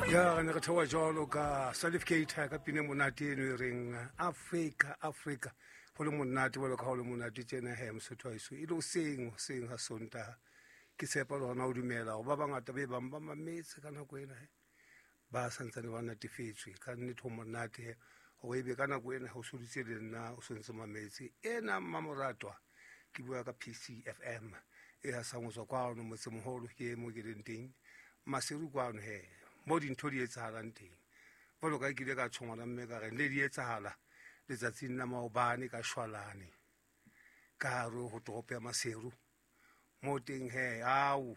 Ya re ne re theoha jwalo ka Salif Keita ka pina e monate eno e reng Afrika Afrika. Ho le monate jwalo ka ha ho le monate tjena he Mosotho wa heso. E le hoseng hoseng ha Sontaha. Ke tshepa le hona ho dumela hore ba bangata be bang ba mametse ka nako ena he ba santsane ba natefetswe. Ka nnete ho monate he hore ebe ka nako ena ho soditse le nna o sontse mametse ena mmamoratwa. Ke bua ka PCFM e hasang ho tswa kwano motsemoholo ke mo ke leng teng Maseru kwano he mo dintho di etsahalang teng. Jwalo ka ke ile ka tjho ngwana mme ka re ne di etsahala letsatsing la maobane ka shwalane ka hare ho toropo ya Maseru. Mo teng he ao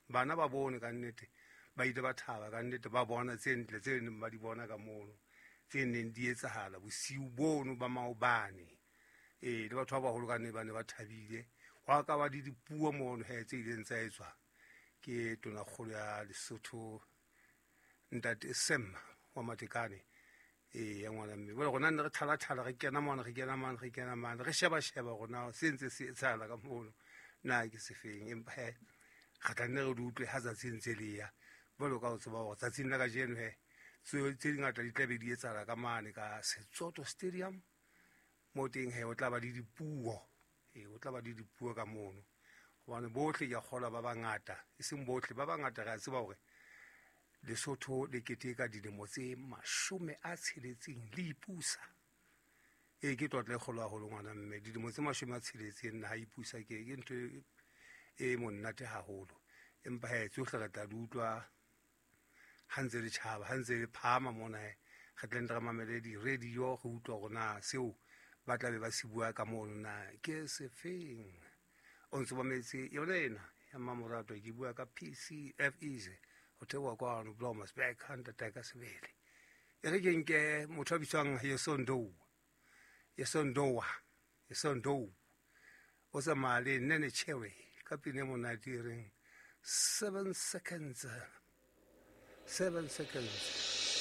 bana ba bone ka nnete ba ile ba thaba ka nnete ba bona tse ntle tse neng ba di bona ka mono tse neng di etsahala bosiu bono ba maobane. Ee, le batho ba baholo ka nne ba ne ba thabile. Hwa ka ba le dipuo mono he tse ileng tsa etswa ke tonakgolo ya Lesotho ntate Sam wa Matekane. Ee, ya ngwana mme. Jwale rona ne re thala-thala re kena mona re kena mane re kena mane re sheba-sheba rona se ntse se etsahala ka mono na ke sefeng. Empa he re tla nne re di utlwe ha tsatsi ntse le ya. Jwalo ka ho tseba hore tsatsing la kajeno he tse dingata di tla be di etsahala ka mane ka Setsoto Stadium. Mo teng he o tla ba le dipuo. Ee, o tla ba le dipuo ka mono. Hobane bohle ke a kgolwa ba bangata, e seng bohle, ba bangata re a tseba hore Lesotho le keteka dilemo tse 60 le ipusa. Ee, ke tlotla e kgolo haholo ngwana mme. Dilemo tse 60 naha e ipusa ke ke ntho e monate haholo. Empa he tsohle re tla di utlwa ha ntse le tjhaba, ha ntse le phahama mona he re tle re mamele di-radio re utlwa hore na seo ba tla be ba se bua ka mono na ke sefeng. O ntso mametse yona ena ya mmamoratwa, ke bua ka PCF Easy ho theoha kwano Blomersburg ha ntate ka sebele. E re ke nke motho a bitswang Yesondou, Yesondowa, Yesondou o tsamaya le Nene Cherry ka pina e monate e reng 7 seconds, 7 seconds.